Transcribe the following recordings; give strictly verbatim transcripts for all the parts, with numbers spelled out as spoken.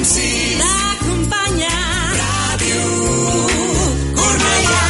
Sis t'acompanya Ràdio Cornellà.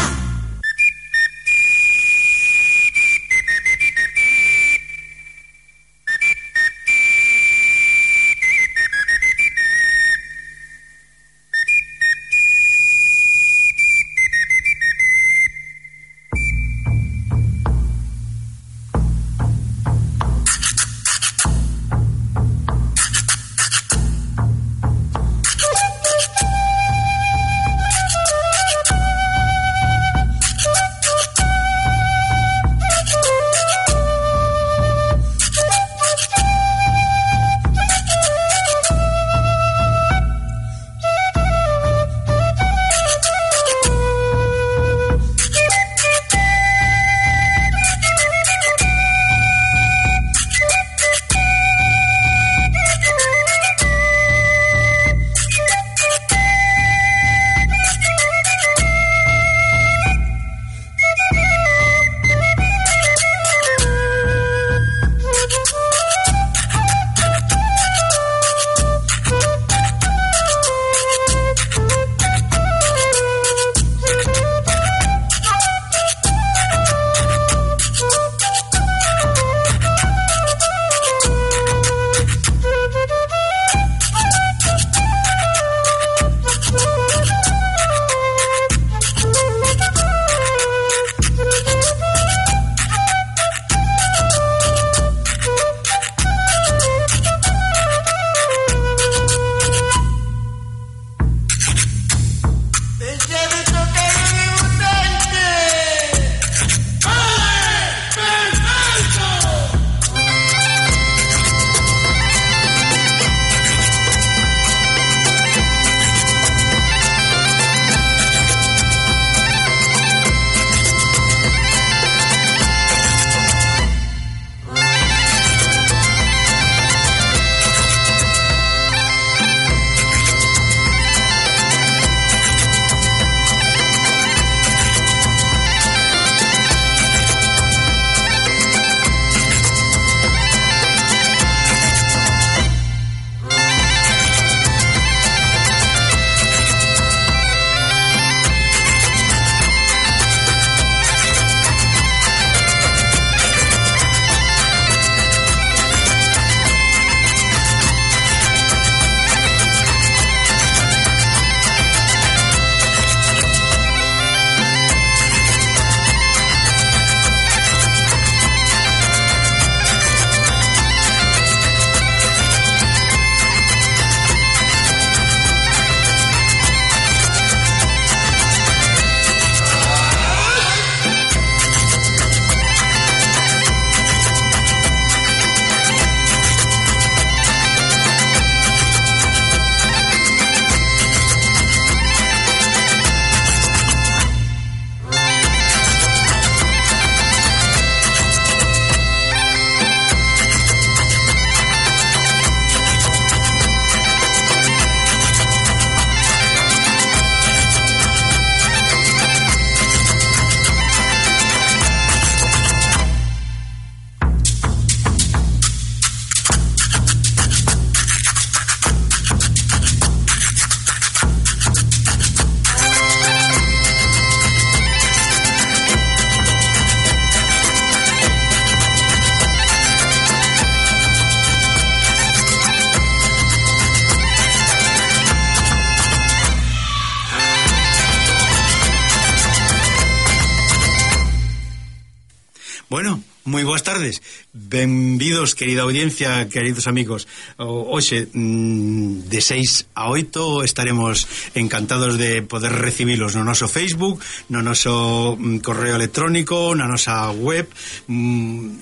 Bueno, moi boas tardes. Benvidos, querida audiencia, queridos amigos. Hoxe, de seis a oito, estaremos encantados de poder recibilos no noso Facebook, no noso correo electrónico, na nosa web,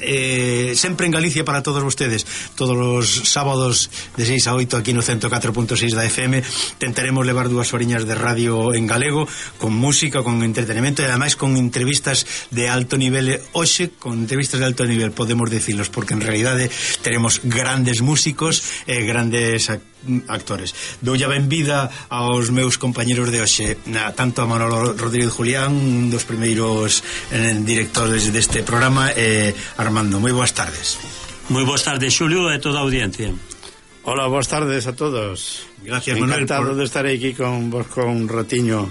eh, sempre en Galicia para todos vostedes. Todos os sábados de seis a oito aquí no ciento catro punto seis da F M tentaremos levar dúas horiñas de radio en galego, con música, con entretenimento e ademais con entrevistas de alto nivel. Hoxe, con entrevistas de alto nivel, podemos decilos, porque en realidade teremos grandes músicos e grandes actores. Doulle a benvida aos meus compañeros de hoxe, tanto a Manolo Rodríguez Julián, un dos primeiros eh, directores deste programa, e Armando. Moi boas tardes. Moi boas tardes, Xulio, e toda a audiencia. Hola, boas tardes a todos. Gracias, Manuel. Encantado por... de estar aquí con vos con un ratiño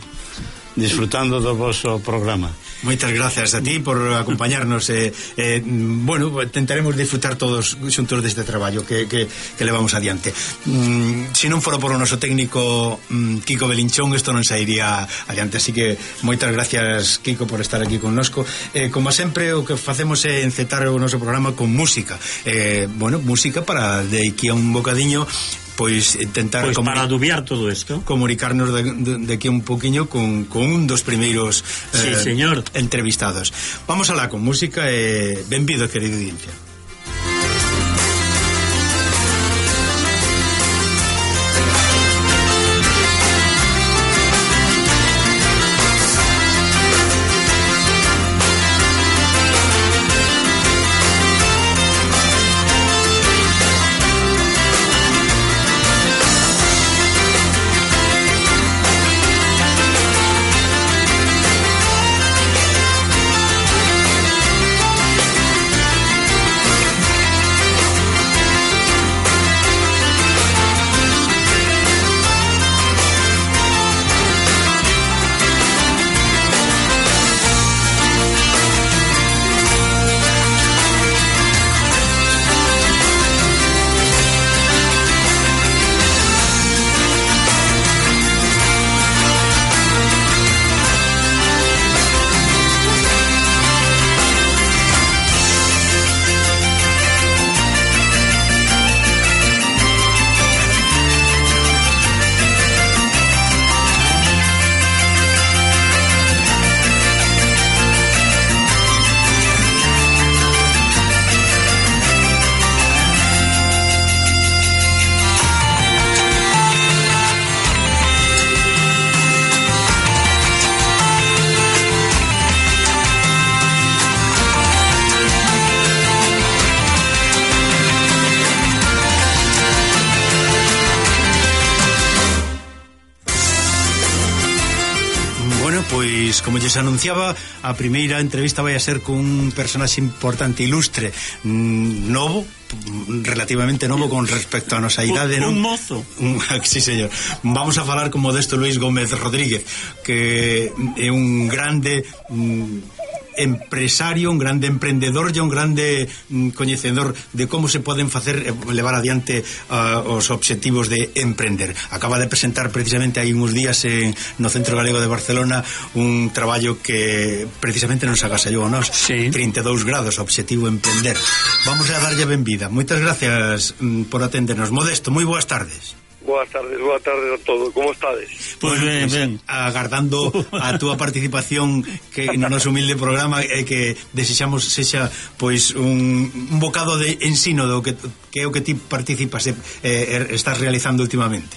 disfrutando do vosso programa. Moitas gracias a ti por acompañarnos. eh, eh, bueno, tentaremos disfrutar todos xuntos deste traballo que, que, que levamos adiante. mm, Se non fora por o noso técnico mm, Kiko Belinchón, isto non sairía adiante. Así que moitas gracias, Kiko, por estar aquí connosco. eh, Como sempre, o que facemos é encetar o noso programa con música. eh, Bueno, música para de aquí a un bocadiño pois intentar pois comuni- para adubiar todo isto, comunicarnos de, de, de aquí un poquinho con, con un dos primeiros sí, eh, señor. entrevistados. Vamos alá con música e eh, benvido, querido audiencia. Pois, como lles anunciaba, a primeira entrevista vai a ser con un personaxe importante, ilustre, novo, relativamente novo con respecto a nosa idade, un, non? un mozo. Un, sí, señor. Vamos a falar con Modesto Luis Gómez Rodríguez, que é un grande mm, empresario, un grande emprendedor e un grande mm, coñecedor de como se poden facer levar adiante uh, os obxectivos de emprender. Acaba de presentar precisamente hai uns días en, no Centro Galego de Barcelona un traballo que precisamente nos agasallou a nós, sí. trinta e dous grados, obxectivo emprender. Vamos a darlle benvida. Moitas gracias mm, por atendernos. Modesto, moi boas tardes. Boas tardes, boas tardes a todos. Como estades? Pois Bueno, ben, pues, ben. agardando a túa participación que no noso humilde programa e eh, que desexamos sexa pois un, un bocado de ensino do que, que é o que ti participas e eh, estás realizando últimamente.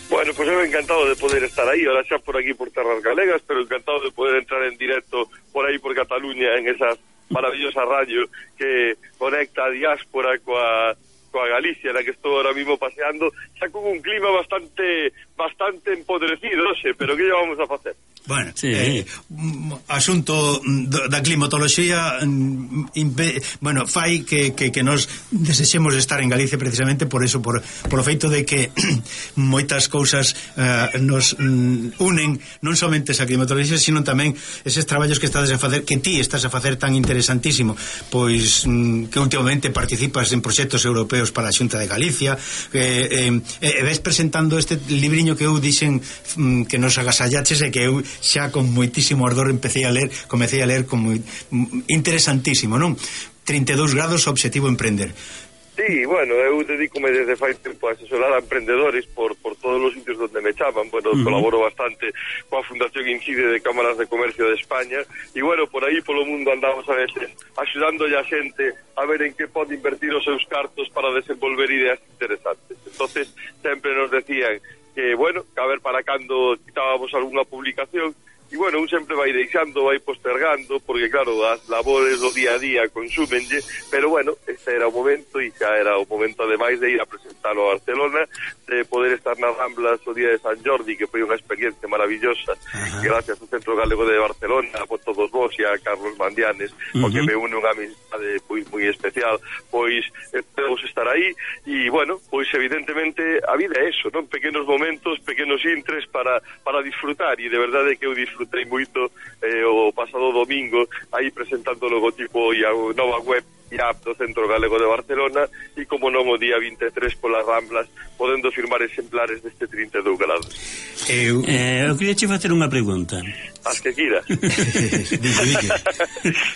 Bueno, pues eu encantado de poder estar aí, ahora xa por aquí por terras galegas, pero encantado de poder entrar en directo por aí por Cataluña en esas maravillosas radio que conecta a diáspora coa coa Galicia, na que estou ahora mismo paseando, xa con un clima bastante bastante empodrecido, xe, pero que lle vamos a facer? Bueno, sí. eh, asunto da climatoloxía impe, bueno, fai que, que, que nos desexemos estar en Galicia precisamente por eso, por, por o feito de que moitas cousas uh, nos um, unen non somente esa climatoloxía, sino tamén eses traballos que estades a facer, que ti estás a facer tan interesantísimo, pois um, que últimamente participas en proxectos europeos para a Xunta de Galicia, eh, eh, e ves presentando este libriño que eu dixen um, que nos agasallaches e que eu xa con moitísimo ardor empecé a ler, comecei a ler como interesantísimo, non? trinta e dous grados, obxectivo emprender. Sí, bueno, eu dedícome desde fai tempo a asesorar a emprendedores por, por todos os sitios donde me chaman. Bueno, uh-huh. colaboro bastante coa Fundación Incide de Cámaras de Comercio de España e, bueno, por aí polo mundo andamos a veces axudándolle a xente a ver en que pode invertir os seus cartos para desenvolver ideas interesantes. Entonces, sempre nos decían que, bueno, que a ver para cando quitábamos algunha publicación. E, bueno, un sempre vai deixando, vai postergando, porque, claro, as labores do día a día consúmenlle, pero, bueno, este era o momento, e xa era o momento, ademais, de ir a presentalo a Barcelona, de poder estar nas Ramblas o día de San Jordi, que foi unha experiencia maravillosa, gracias ao Centro Galego de Barcelona, a todos vos e a Carlos Mandianes, uh-huh. porque me une unha amistad amizade pois moi especial, pois podemos estar aí e, bueno, pois evidentemente a vida é eso, non? Pequenos momentos, pequenos intres para, para disfrutar, e de verdade que eu disfrutei moito eh, o pasado domingo aí presentando o logotipo e a nova web e app do Centro Galego de Barcelona, e como non o día vinte e tres polas Ramblas, podendo firmar exemplares deste trinta e dous grados. Eu, eh, eu queria che facer unha pregunta. As que quira.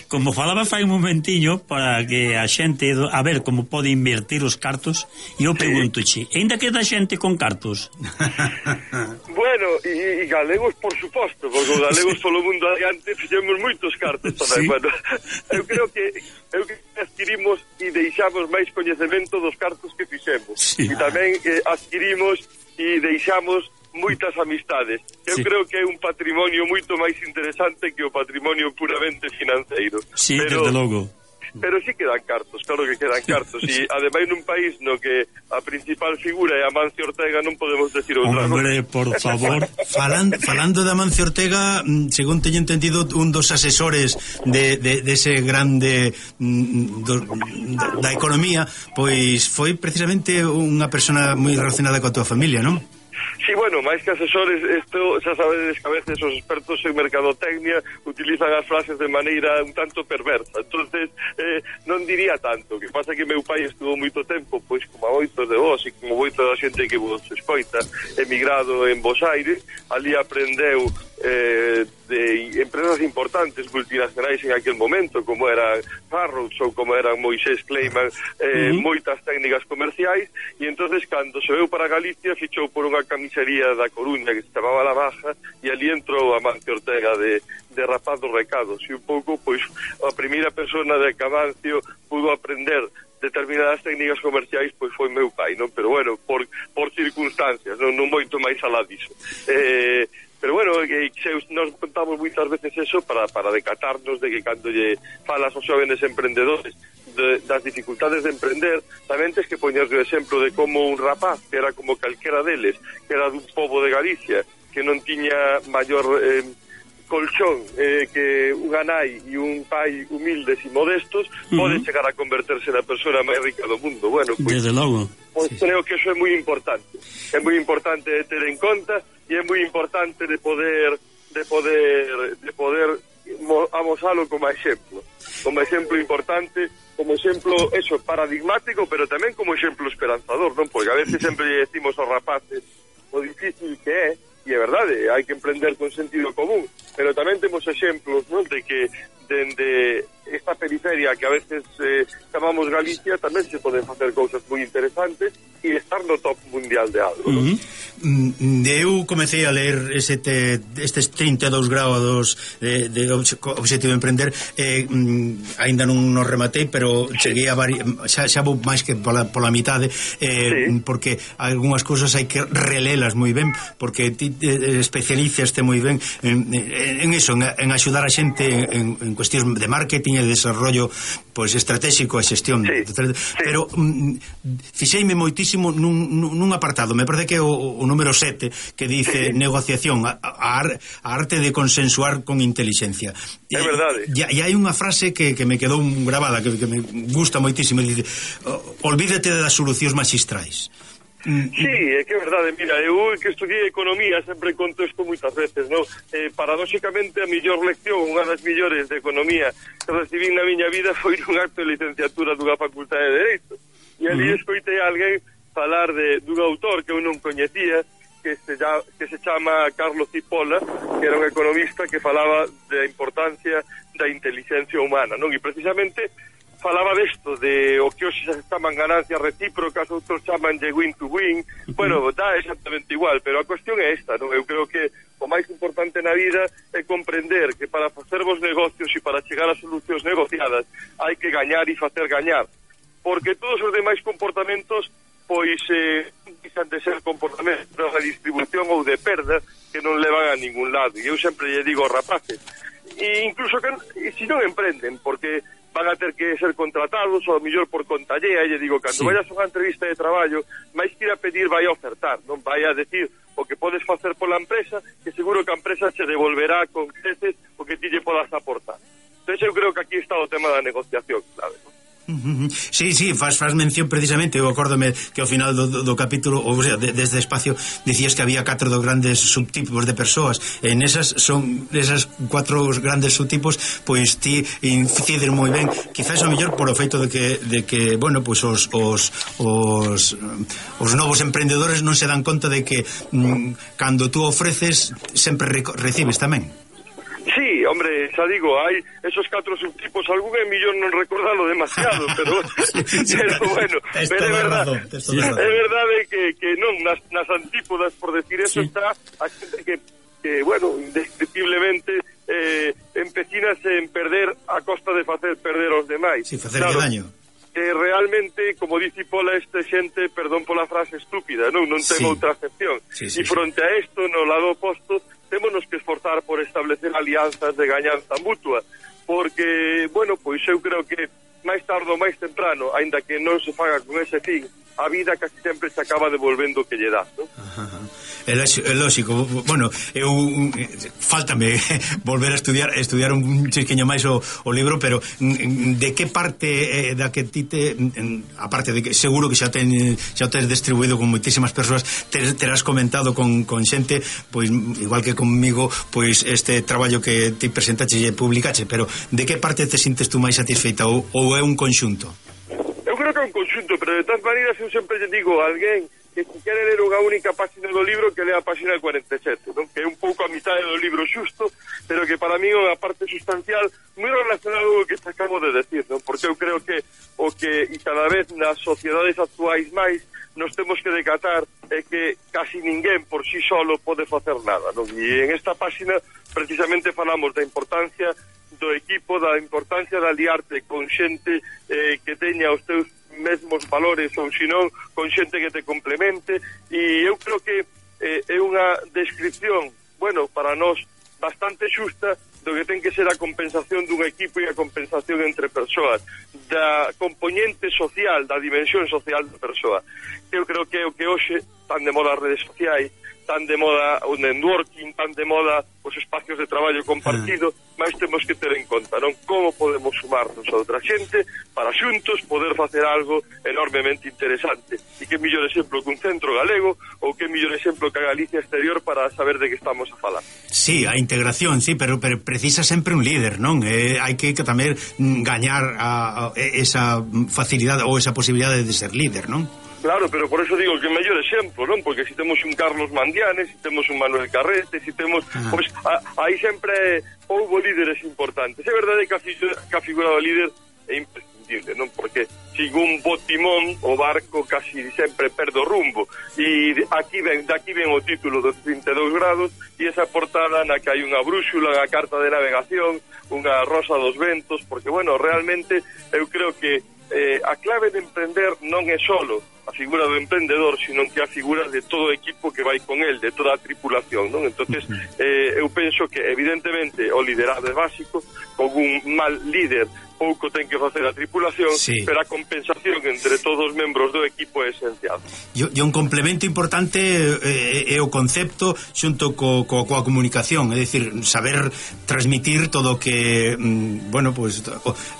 Como falaba fai un momentiño para que a xente, a ver como pode invertir os cartos, e eu preguntoche, ainda queda xente con cartos? Bueno, e, e galegos por suposto, porque os galegos polo mundo adiante fixemos moitos cartos tamén. Sí. Bueno, eu creo que eu que adquirimos e deixamos máis coñecemento dos cartos que fixemos. Sí. E tamén eh, adquirimos e deixamos moitas amistades. Eu sí. creo que é un patrimonio moito máis interesante que o patrimonio puramente financeiro. Sí, pero, desde logo. Pero sí quedan cartos, claro que quedan cartos. E ademais nun país no que a principal figura é Amancio Ortega, non podemos decir outra cosa. Hombre, por favor. Falan, falando de Amancio Ortega, según teño entendido, un dos asesores de, de, de ese grande do, da economía, pois foi precisamente unha persona moi relacionada coa tua familia, non? Sí, bueno, máis que asesores, isto xa sabedes que a veces os expertos en mercadotecnia utilizan as frases de maneira un tanto perversa, entonces eh, non diría tanto, que pasa que meu pai estuvo moito tempo, pois como a moitos de vos e como moito da xente que vos escoita, emigrado en Bos Aires, ali aprendeu eh, de empresas importantes multinacionais en aquel momento, como era Farrows ou como eran Moisés Kleiman, eh, uh -huh. moitas técnicas comerciais, e entonces cando se veu para Galicia fichou por unha camisería da Coruña que se chamaba La Baja, e ali entrou Amancio Ortega de, de rapaz dos recados, e un pouco, pois, a primeira persona de que Amancio pudo aprender determinadas técnicas comerciais, pois foi meu pai, non? Pero bueno, por, por circunstancias, non, non moito máis alá diso. Eh, pero bueno, que, que nos contamos moitas veces eso para, para decatarnos de que cando lle falas aos xóvenes emprendedores de, das dificultades de emprender, tamén tens que poñer o exemplo de como un rapaz, que era como calquera deles, que era dun pobo de Galicia, que non tiña maior eh, colchón eh, que unha nai e un pai humildes e modestos, uh -huh. pode chegar a converterse na persona máis rica do mundo. Bueno, pues, desde logo. Pues sí, creo sí. que eso é moi importante. É moi importante de ter en conta, e é moi importante de poder de poder de poder amosalo como exemplo. Como exemplo importante, como exemplo eso paradigmático, pero tamén como exemplo esperanzador, non? Porque a veces sempre decimos aos rapaces o difícil que é, e é verdade, hai que emprender con sentido común, pero tamén temos exemplos, non, de que dende esta periferia que a veces eh, chamamos Galicia tamén se poden facer cousas moi interesantes e estar no top mundial de algo, non? Uh -huh. Eu comecei a ler ese te, estes trinta e dous grados de, de Obxectivo de Emprender, eh, ainda non nos rematei, pero sí. cheguei a vari, xa, xa vou máis que pola, pola mitade, eh, sí. porque algunhas cousas hai que relelas moi ben, porque ti eh, especializaste moi ben en, en eso, en, en axudar a xente en, en cuestións de marketing e de desarrollo pois estratégico e xestión, sí. pero mm, fixeime moitísimo nun, nun apartado, me parece que o, o número sete, que dice sí. negociación, a, a, a arte de consensuar con inteligencia. É verdade. E, e hai unha frase que, que me quedou grabada, que, que me gusta moitísimo, dice, olvídate das solucións magistrais. Sí, é que é verdade, mira, eu que estudiei economía sempre conto isto moitas veces, non? Eh, paradóxicamente a millor lección, unha das millores de economía que recibín na miña vida foi nun acto de licenciatura dunha facultade de Dereito, e ali uh -huh. escoitei a alguén falar de dun autor que eu non coñecía, que se, ya, que se chama Carlos Cipolla, que era un economista que falaba da importancia da inteligencia humana, non? E precisamente falaba desto, de o que hoxe se chaman ganancias recíprocas, outros chaman de win to win, uh -huh. bueno, dá exactamente igual, pero a cuestión é esta, non? Eu creo que o máis importante na vida é comprender que para facer vos negocios e para chegar a solucións negociadas hai que gañar e facer gañar, porque todos os demais comportamentos pois eh, dixan de ser comportamentos de distribución ou de perda que non levan a ningún lado, e eu sempre lle digo aos rapaces, e incluso que e se non emprenden, porque van a ter que ser contratados ou a mellor por contallea, e lle digo, cando sí. vayas a unha entrevista de traballo, máis que ir a pedir vai a ofertar, non vai a decir o que podes facer pola empresa, que seguro que a empresa che devolverá con creces o que ti lle podas aportar. Entón eu creo que aquí está o tema da negociación, claro, ¿no? Sí, sí, faz, faz mención precisamente. Eu acórdome que ao final do, do, do capítulo, ou sea, de, desde espacio dicías que había catro dos grandes subtipos de persoas. En esas son esas cuatro grandes subtipos, pois ti inciden moi ben. Quizás o mellor por o feito de que de que, bueno, pois os os os os novos emprendedores non se dan conta de que mm, cando tú ofreces sempre re, recibes tamén. Sí, hombre, xa digo, hai esos catro subtipos, algún é millón non recordalo demasiado, pero, pero bueno, pero é verdade, é verdade que, que non, nas, nas antípodas, por decir eso, sí. Está a xente que, que bueno, indescriptiblemente eh, empecinase en perder a costa de facer perder aos demais. Sí, facerlle claro, daño. Que realmente, como dice Pola, este xente, perdón pola frase estúpida, non, non ten sí. Outra acepción. Sí, sí, e fronte sí. A isto, no lado oposto, témonos que esforzar por establecer alianzas de gañanza mutua, porque, bueno, pois eu creo que máis tarde ou máis temprano, aínda que non se faga con ese fin, a vida casi sempre se acaba devolvendo o que lle dá, non? Ajá. É lógico, bueno, eu faltame volver a estudiar estudiar un chisquiño máis o, o libro, pero de que parte eh, da que ti te, aparte de que seguro que xa ten xa tes distribuído con moitísimas persoas, te, terás comentado con, con xente, pois igual que conmigo, pois este traballo que ti presentache e publicache, pero de que parte te sintes tú máis satisfeita ou, ou é un conxunto? Eu creo que é un conxunto, pero de todas maneiras eu sempre lle digo a alguén que se quere ler unha única página do libro, que lea a página cuarenta e sete, non? Que é un pouco a mitad do libro xusto, pero que para mí é unha parte sustancial moi relacionado co que te acabo de decir, non? Porque eu creo que o que e cada vez nas sociedades actuais máis nos temos que decatar é que casi ninguén por sí solo pode facer nada, non? E en esta página precisamente falamos da importancia do equipo, da importancia de aliarte con xente eh, que teña os teus mesmos valores ou senón con xente que te complemente, e eu creo que eh, é unha descripción, bueno, para nós bastante xusta do que ten que ser a compensación dun equipo e a compensación entre persoas, da componente social, da dimensión social da persoa. Eu creo que é o que hoxe tan de moda as redes sociais, tan de moda o networking, tan de moda os espacios de traballo compartido, mas temos que ter en conta, non? Como podemos sumarnos a outra xente para xuntos poder facer algo enormemente interesante. E que mellor exemplo que un centro galego, ou que mellor exemplo que a Galicia exterior para saber de que estamos a falar. Sí, a integración, sí, pero, pero precisa sempre un líder, non? Eh, hai que, que tamén gañar a, a, esa facilidade ou esa posibilidade de ser líder, non? Claro, pero por eso digo que é mellor exemplo, non? Porque se temos un Carlos Mandianes, se temos un Manuel Carrete, se temos... Ah. Pois aí sempre houbo líderes importantes. É verdade que a, que a figura do líder é imprescindible, non? Porque sin un bo timón, o barco casi sempre perde o rumbo. E aquí ven, daqui ven o título dos trinta e dous grados e esa portada na que hai unha brúxula, unha carta de navegación, unha rosa dos ventos, porque, bueno, realmente eu creo que eh, a clave de emprender non é solo a figura do emprendedor, sino que a figura de todo o equipo que vai con el, de toda a tripulación, non? Entonces, eh, eu penso que evidentemente o liderado é básico, con un mal líder pouco ten que facer a tripulación, sí. Pero a compensación entre todos os membros do equipo é esencial. E, e un complemento importante é, é o concepto xunto co, co, coa comunicación, é dicir, saber transmitir todo o que, mm, bueno, pues,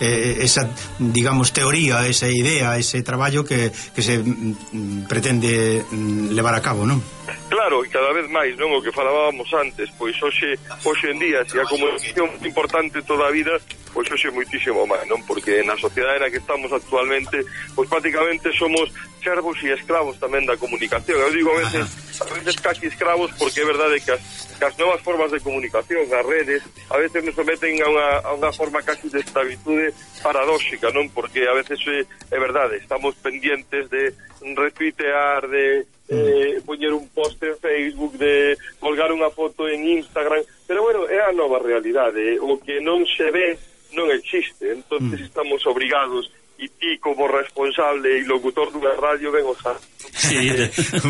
eh, esa, digamos, teoría, esa idea, ese traballo que, que se mm, pretende mm, levar a cabo, non? Claro, e cada vez máis, non? O que falábamos antes, pois hoxe, hoxe en día, se a comunicación é importante toda a vida, pois hoxe moitísimo máis, non? Porque na sociedade na que estamos actualmente, pois prácticamente somos servos e escravos tamén da comunicación. Eu digo a veces, a veces casi escravos, porque é verdade que as, que as novas formas de comunicación, as redes, a veces nos someten a unha, a unha forma casi de esclavitude paradóxica, non? Porque a veces é, é verdade, estamos pendientes de retuitear, de eh, poñer un post en Facebook, de colgar unha foto en Instagram, pero bueno, é a nova realidade, o que non se ve non existe, entonces mm. estamos obrigados, e ti como responsable e locutor dunha radio ven o sabe. Sí,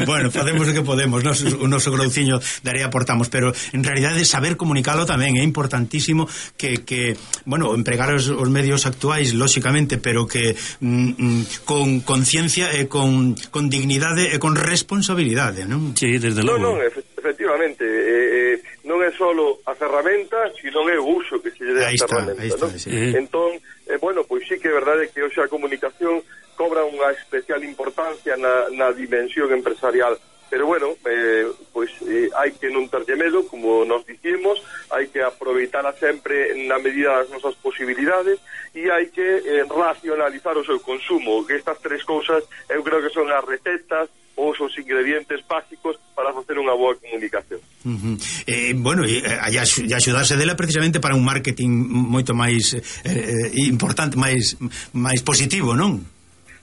bueno, facemos o que podemos, nos, o noso grouciño daré aportamos, pero en realidade saber comunicalo tamén é importantísimo, que, que bueno, empregar os, os medios actuais, lóxicamente, pero que mm, con conciencia e con, con dignidade e con responsabilidade, non? Sí, desde logo. Non, non, efectivamente, eh, eh, non é solo a ferramenta, sino é o uso que se lle dé a Aí está, ferramenta, aí está, ¿no? sí. Entón, eh, bueno, pois sí que é verdade que hoxe a comunicación cobra unha especial importancia na, na dimensión empresarial, pero bueno, eh, pois eh, hai que non terlle medo, como nos dicimos, hai que aproveitala sempre na medida das nosas posibilidades e hai que eh, racionalizar o seu consumo, que estas tres cousas eu creo que son as recetas ou os ingredientes básicos para facer unha boa comunicación. Uh -huh. eh, bueno, e eh, axudarse dela precisamente para un marketing moito máis eh, importante, máis máis positivo, non?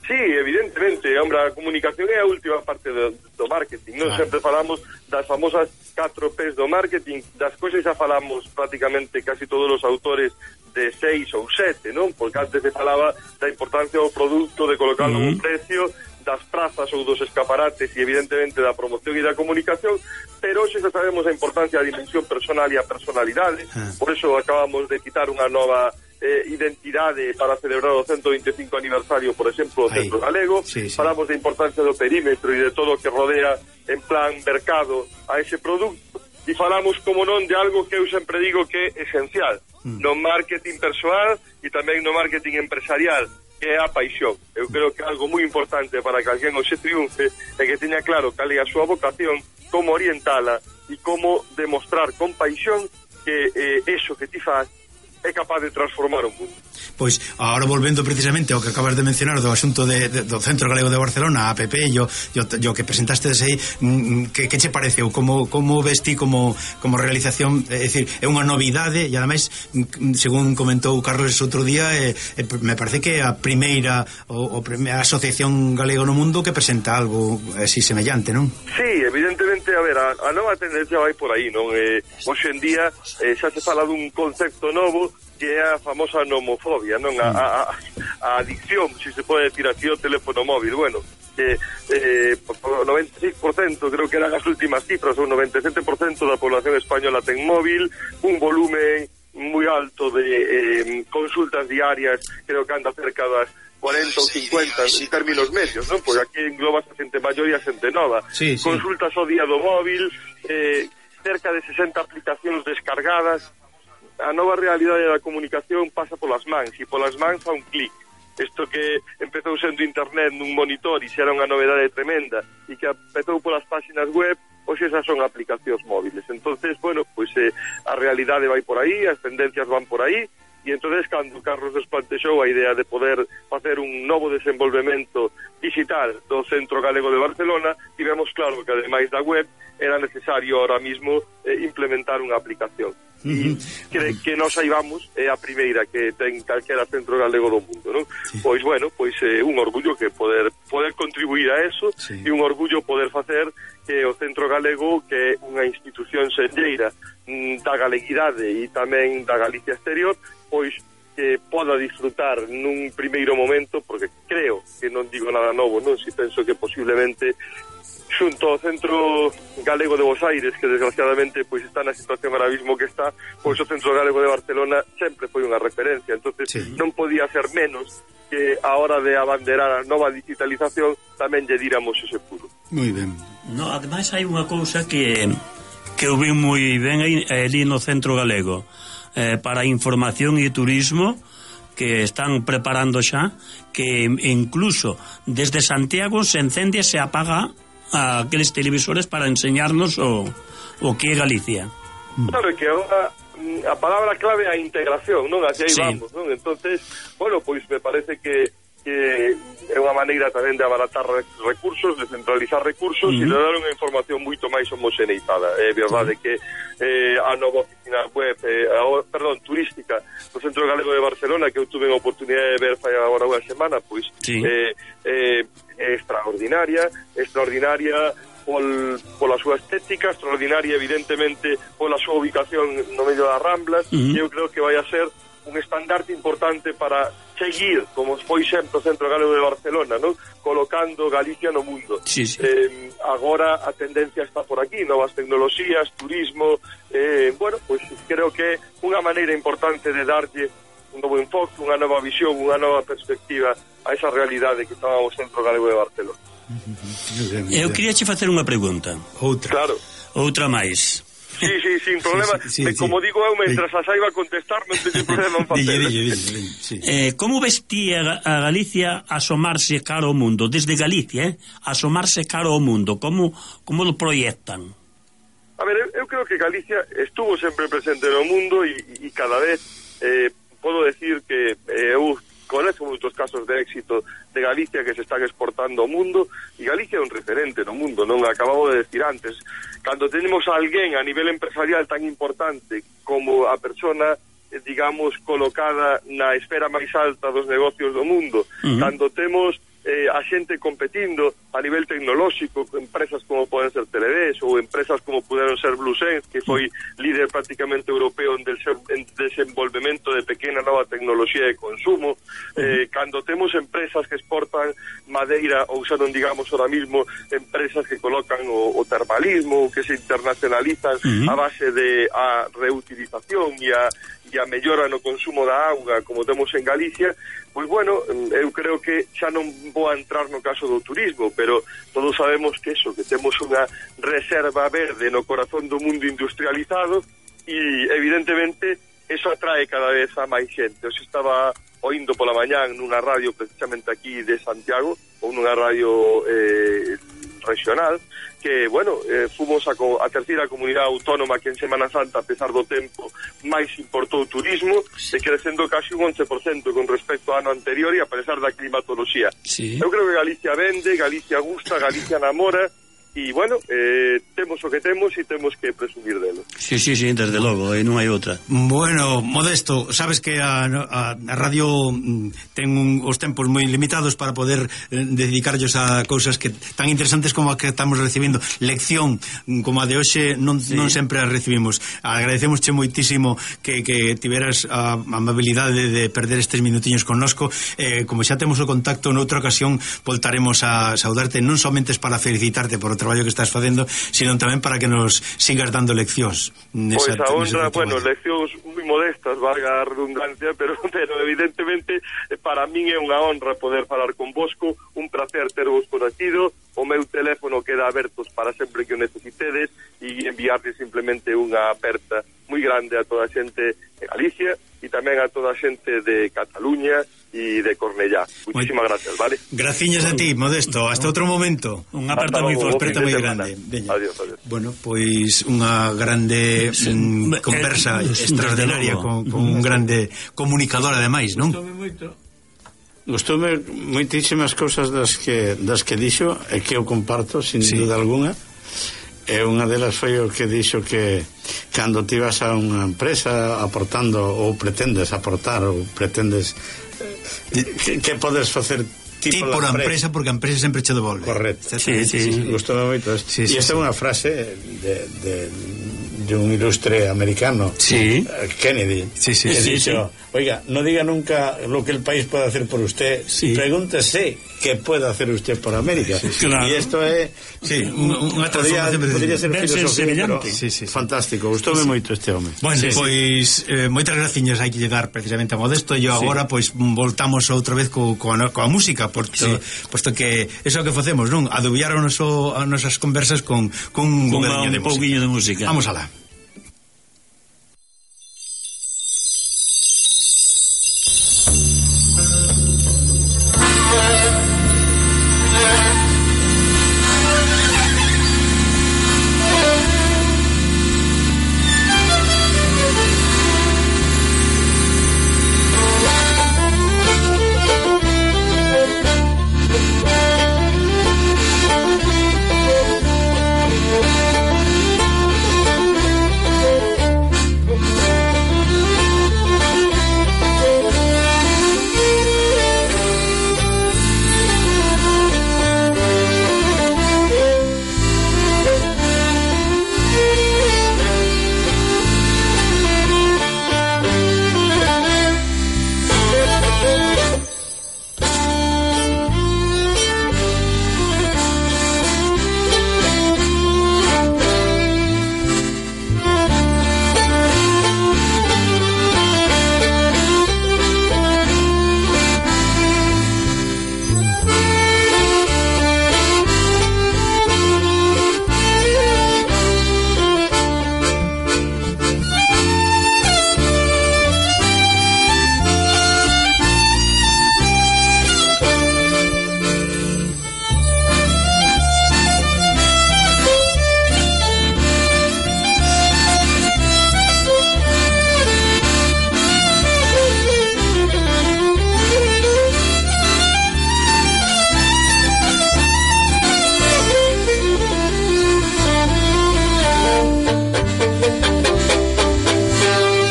Sí, evidentemente, hombre, a comunicación é a última parte do, do marketing, non? Claro. Sempre falamos das famosas catro P's do marketing, das cousas xa falamos prácticamente casi todos os autores de seis ou sete, non? Porque antes se falaba da importancia do produto, de colocarlo uh -huh. un precio, das prazas ou dos escaparates e evidentemente da promoción e da comunicación, pero hoxe xa sabemos a importancia da dimensión personal e a personalidade, por eso acabamos de quitar unha nova eh, identidade para celebrar o ciento veinticinco aniversario, por exemplo, do Centro Galego. Sí, sí. Falamos da importancia do perímetro e de todo o que rodea en plan mercado a ese produto, e falamos, como non, de algo que eu sempre digo que é esencial mm. no marketing persoal e tamén no marketing empresarial, que é a paixón. Eu creo que é algo moi importante para que alguén hoxe triunfe é que teña claro cal é a súa vocación, como orientala e como demostrar con paixón que eh, eso que ti faz é capaz de transformar o mundo. Pois, agora volvendo precisamente ao que acabas de mencionar do asunto de, de, do Centro Galego de Barcelona, a APP, yo, yo, yo que presentaste aí, que, que che pareceu? Como, como ves ti como, como realización? É dicir, é unha novidade e ademais, según comentou Carlos outro día, eh, eh, me parece que é a primeira o, o primeira asociación galego no mundo que presenta algo así semellante, non? Sí, evidentemente, a ver, a, a nova tendencia vai por aí, non? Eh, hoxe en día eh, xa se fala dun concepto novo que é a famosa nomofobia, non? A, a, a adicción, se se pode decir así, ao teléfono móvil. Bueno, que eh, o noventa e seis por cento, creo que eran as últimas cifras, o noventa e sete por cento da población española ten móvil, un volumen moi alto de eh, consultas diarias, creo que anda cerca das cuarenta ou cincuenta en términos medios, non? Porque aquí engloba a xente maior e a xente nova. Sí, sí. Consultas ao día do móvil, eh, cerca de sesenta aplicacións descargadas. A nova realidade da comunicación pasa polas mans, e polas mans a un clic. Isto que empezou sendo internet nun monitor e xa era unha novedade tremenda, e que empezou polas páxinas web, hoxe esas son aplicacións móviles. Entonces, bueno, pois eh, a realidade vai por aí, as tendencias van por aí, e entonces cando Carlos desplantexou a idea de poder facer un novo desenvolvemento digital do Centro Galego de Barcelona, tivemos claro que ademais da web era necesario ahora mismo eh, implementar unha aplicación. Uh -huh. que, que nos saibamos é a primeira que ten calquera centro galego do mundo, non? Sí. Pois bueno, pois é eh, un orgullo que poder poder contribuir a eso, sí. E un orgullo poder facer que o Centro Galego, que é unha institución senlleira mm, da galeguidade e tamén da Galicia exterior, pois que poda disfrutar nun primeiro momento, porque creo que non digo nada novo, non? Si penso que posiblemente xunto ao Centro Galego de Bos Aires, que desgraciadamente pois está na situación ahora mismo que está, pois o Centro Galego de Barcelona sempre foi unha referencia, entonces sí. Non podía ser menos que a hora de abanderar a nova digitalización tamén lle díramos ese puro. Moi ben. No, ademais hai unha cousa que que eu vi moi ben aí, ali no Centro Galego, eh, para información e turismo, que están preparando xa, que incluso desde Santiago se encende e se apaga a aqueles televisores para enseñarnos o, o que é Galicia. Claro, que agora a palabra clave é a integración, non? Así aí sí. Vamos, non? Entonces, bueno, pois me parece que, que é unha maneira tamén de abaratar recursos, de centralizar recursos, uh -huh. E de dar unha información moito máis homoxeneizada. É verdade uh -huh. que eh, a nova oficina web, eh, a, perdón, turística do Centro Galego de Barcelona, que eu tuve a oportunidade de ver fai agora unha semana, pois sí. eh, eh, é extraordinaria, extraordinaria pol, pola súa estética, extraordinaria evidentemente pola súa ubicación no medio das Ramblas, uh -huh. E eu creo que vai a ser un estandarte importante para seguir, como foi sempre o Centro Galego de Barcelona, ¿no? Colocando Galicia no mundo. Sí, sí. Eh, agora a tendencia está por aquí, novas tecnoloxías, turismo, eh, bueno, pues creo que unha maneira importante de darlle un novo enfoque, unha nova visión, unha nova perspectiva a esa realidade que estaba o Centro Galego de Barcelona. Eu queria che facer unha pregunta. Outra. Claro. Outra máis. Sí, sí, sin problema. Sí, sí, sí, como sí. digo eu, mentras a saiba contestar, non teño problema en Dille, facelo. dille, dille, dille, sí. Eh, como vestía a Galicia asomarse caro ao mundo? Desde Galicia, eh? Asomarse caro ao mundo. Como, como lo proyectan? A ver, eu, eu creo que Galicia estuvo sempre presente no mundo e, e cada vez eh, podo decir que eh, eu conoce moitos casos de éxito de Galicia que se están exportando ao mundo, e Galicia é un referente no mundo, non acabamos de decir antes. Cando tenemos a alguén a nivel empresarial tan importante como a persona, eh, digamos, colocada na esfera máis alta dos negocios do mundo, uh-huh. cando temos eh, a xente competindo a nivel tecnolóxico, empresas como poden ser Teledes ou empresas como puderon ser Bluesense, que foi líder prácticamente europeo en, del, en desenvolvemento de pequena nova tecnoloxía de consumo, eh, cando temos empresas que exportan madeira ou xa non digamos ahora mismo empresas que colocan o, o termalismo, que se internacionalizan uh-huh. a base de a reutilización e a, e a mellora no consumo da auga como temos en Galicia, pois bueno, eu creo que xa non vou a entrar no caso do turismo, pero todos sabemos que eso, que temos unha reserva verde no corazón do mundo industrializado e evidentemente eso atrae cada vez a máis xente. Eu estaba oindo pola mañán nunha radio precisamente aquí de Santiago, ou nunha radio eh, regional, que, bueno, eh, fomos a, a terceira comunidade autónoma que en Semana Santa, a pesar do tempo, máis importou turismo, e crecendo casi un once por cento con respecto ao ano anterior e a pesar da climatoloxía. Sí. Eu creo que Galicia vende, Galicia gusta, Galicia namora, e, bueno, eh, temos o que temos e temos que presumir delo. Sí, sí, sí, desde logo, e non hai outra. Bueno, Modesto, sabes que a, a, a radio ten un, os tempos moi limitados para poder eh, dedicarllos a cousas que tan interesantes como a que estamos recibindo. Lección como a de hoxe non, sí. non sempre a recibimos. Agradecemosche moitísimo que, que tiveras a amabilidade de perder estes minutiños connosco. Eh, como xa temos o contacto noutra ocasión, voltaremos a saudarte non somente para felicitarte por o traballo que estás facendo, sino tamén para que nos sigas dando leccións. Pois pues a honra, bueno, leccións moi modestas, valga a redundancia, pero, pero evidentemente para min é unha honra poder falar con vosco, un placer tervos conocido, o meu teléfono queda abertos para sempre que o necesitedes e enviarles simplemente unha aperta moi grande a toda a xente de Galicia e tamén a toda a xente de Cataluña e de Cornellá. Muchísimas gracias, ¿vale? Graciñas a ti, Modesto. Hasta outro momento. Un aperta moi forte, moi grande. Adiós, adiós. Bueno, pois unha grande mm, conversa eh, extraordinaria con, con un grande comunicador ademais, non? Gustoume moito. Gustoume moitísimas cousas das que das que dixo e que eu comparto sin sí. duda alguna. E unha delas foi o que dixo que cando ti vas a unha empresa aportando ou pretendes aportar ou pretendes que, que podes facer ti por a empresa, porque a empresa sempre che devolve. Correcto. Sí, sí, sí. Gustoume moito isto. Sí, sí, e esta é sí. unha frase de, de, de un ilustre americano, sí. Kennedy, sí, sí, que sí, dicho, sí. oiga, no diga nunca lo que el país puede hacer por usted, sí. pregúntese qué puede hacer usted por América. Sí, sí, claro. Y esto é sí, unha podría, podría ser filosofía, pero sí, sí, sí. fantástico. Gustoume sí. moito este home. Bueno, sí, pois sí. eh, moitas graciñas hai que lle dar precisamente a Modesto e sí. agora pois voltamos outra vez co, co, coa música, porque sí. posto que eso que facemos, non? Adubiar o noso, as nosas conversas con, con un, con un, un pouquiño de música. Vamos alá.